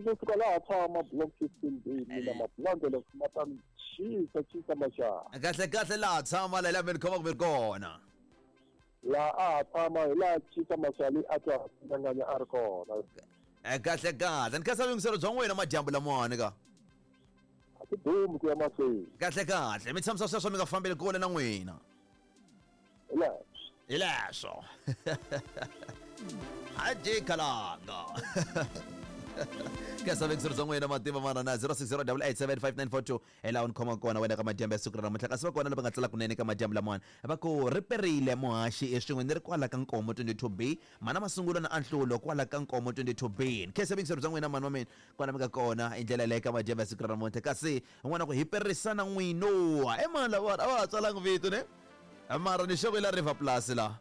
Kusuka laha tshama block 15B mina mapulange ma ta chisa chisa maxaha. Kahle kahle laha tshama la mi ni khomaka mi ri kona. Laha a ha tshama hi laha chisa maxali a twa nganganya a ri kona. Kahle kahle ni khensa vuyingiselo bya n'wina madyambu lamawani ka. A ti dumi ku ya mahlweni. Kahle kahle mi tshamisa sweswo mi nga fambeli kule na n'wina. Hi leswo. Hi leswo. A kalanga. Khensa vuyingiselo bya n'wina mativa mana na 0608875942 hi laha u ni khomaka kona wena ka madyambu ya siku ra namuntlha kasi va kona lava nga tsala kunene ka madyambu lamawani va ku ri perile muhaxi eswin'we ni ri kwala ka nkomo 22B mana masungulo na anhlulo kwala ka nkomo 22B ni khensa vuyingiselo bya n'wina mani wa mina kwala mi nga kona hi ndlela leyi ka madyambu ya siku ra namuntlha kasi un'wana ku hi perisana n'wino e mani lavawani a va ha tsalanga vito ne mara ni xoko la river plus la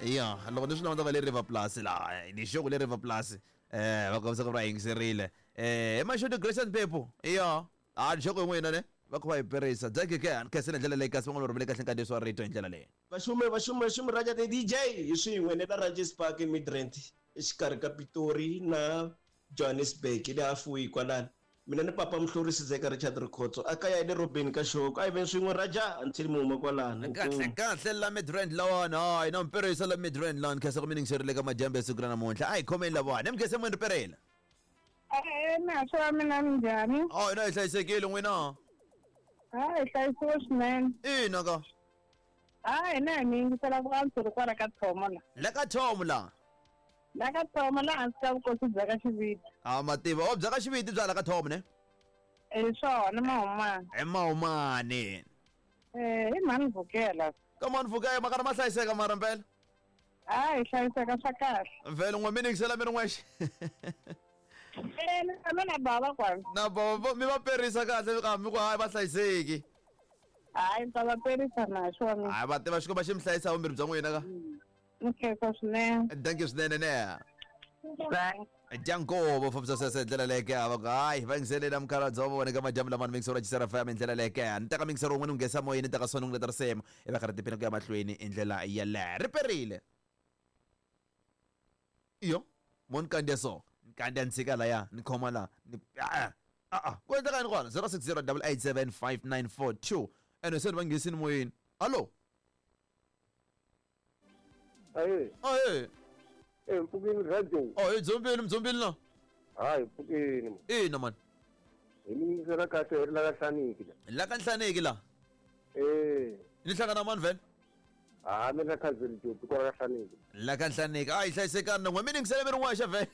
ya loko ni swi languta va le river plus la ni xoko le river plus va kombisa ku va yingiserile emaxoto Grace Pepo ya a ni xoko n'wina ne va kha va hi perisa dzake ke ni khensela ndlela leyi kasi van'wana va rhumele kahle nkandziyiso wa rito hi ndlela leyi. Vaxume vaxume vaxume Raja the DJ hi swin'we ni la Ranges Park eMidrand exikarhi ka Pitori na Johannesburg le halfway kwalano mina ni papa Muhluri Sizeka Richard Rikhotso a kaya hi le Robeni ka Xoko a hi veni swin'we Raja until mi huma kwalano Kahle kahle la Midrand lawani hayi na mperisa la Midrand lani khensa ku mi ningiserile ka madyambu ya siku ra namuntlha a hi khomeni lavawani mi khense n'wini ri perela. E-e, naxo wa mina minjhani? Oh, hina hi hlayisekile n'wina. Ha hi hlayisiwe swinene. Ina ka. Ha hina hi mi yingisela ku antswa ri kwala ka Thomo la. La ka Thomo la. La ka Thomo la hansi ka vukosi bya ka Xiviti. Ah, mativa. O bya ka Xiviti bya la ka Thomo ne? Hi swona Mahumani. Hi Mahumani. Eh, hi mhani Vukela. Ka mhani Vukela makara ma hlayiseka mara mpela. Ha hi hlayiseka swa kahle. Vhele n'we mi ningisela mi ri n'wexe. Eh, ni tshame na bava kwala. Na bava mi va perisa kahle ka mi ku hayi va hlayiseki. Hayi ni ta va perisa na xona. Hayi va tiva Xikwembu xi mi hlayisa vumbirhi bya n'wina ka. Ni khensa swinene. Thank you swinene ne. Bye. Dyankovo fambisa sweswo hi ndlela leyi ke va ku hayi va yingiseleni na mukhalabye wa vona ka madyambu lamani mingisero ya Chisera FM hi ndlela leyi ke ni teka mingisero wun'we ni nghesa moyeni ni teka swona ni leta risimu i va karhi tiphina ku ya mahlweni hi ndlela yeleyo ri perile iyo mo ni kandziya so ni kandziya ni tshika laya ni khoma la ni a a ku endleka yini kona 060 887 5942 ene se ni va nghisini moyeni hallo Ahe. Ahe. Eh, mpfukeni radio. Oh, hi dzombeni mdzombeni la. Hayi, mpfukeni. Ina man. Hi mi yingisela kahle hi ri la ka Nhlaniki la. La ka Nhlaniki la. Eh. Ni hlangana mani vhele? Ha, mi na cousin Jopi kwala ka Nhlaniki. La ka Nhlaniki. A yi hlayisekani na n'we mi ningisele mi ri n'wexe vhele.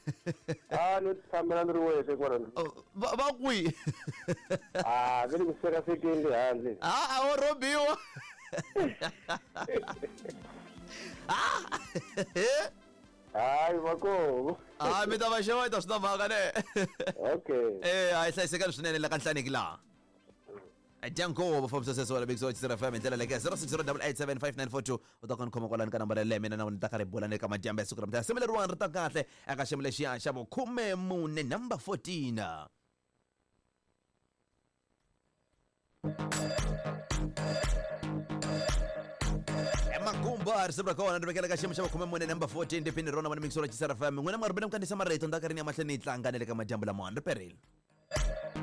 Ha, no tshambela ni ri wexe kwala. Oh, va va kwihi? Ha, mi ri ku sekasekeni le handle. Ha, a wo rhobiwa. Hayi va koho. Ha, mi ta va xeweta swi na mhaka ne. Okay. Eh, a yi hlayisekani swinene la ka Nhlaniki laha. Dyankovo fambisa sweswo wala Big Chisera FM hi ndlela leyi 0608875942 u ta kona khoma kwalani ka nambara yaleyo mina na wena ta karhi bula ni ka madyambu ya siku ra mutaya simu leriwani ri ta kahle eka xiyimo lexiya xa vukhume-mune number 14 emakumba risimu ra kona ri vekela ka xiyimo xa vukhume-mune number 14 tiphini rona vona mixo ra Chisera FM n'wina mi nga rhumela mi kandziyisa marito ni ta karhi ni ya mahlweni ni yi tlanga ni le ka madyambu lamawani ri perile.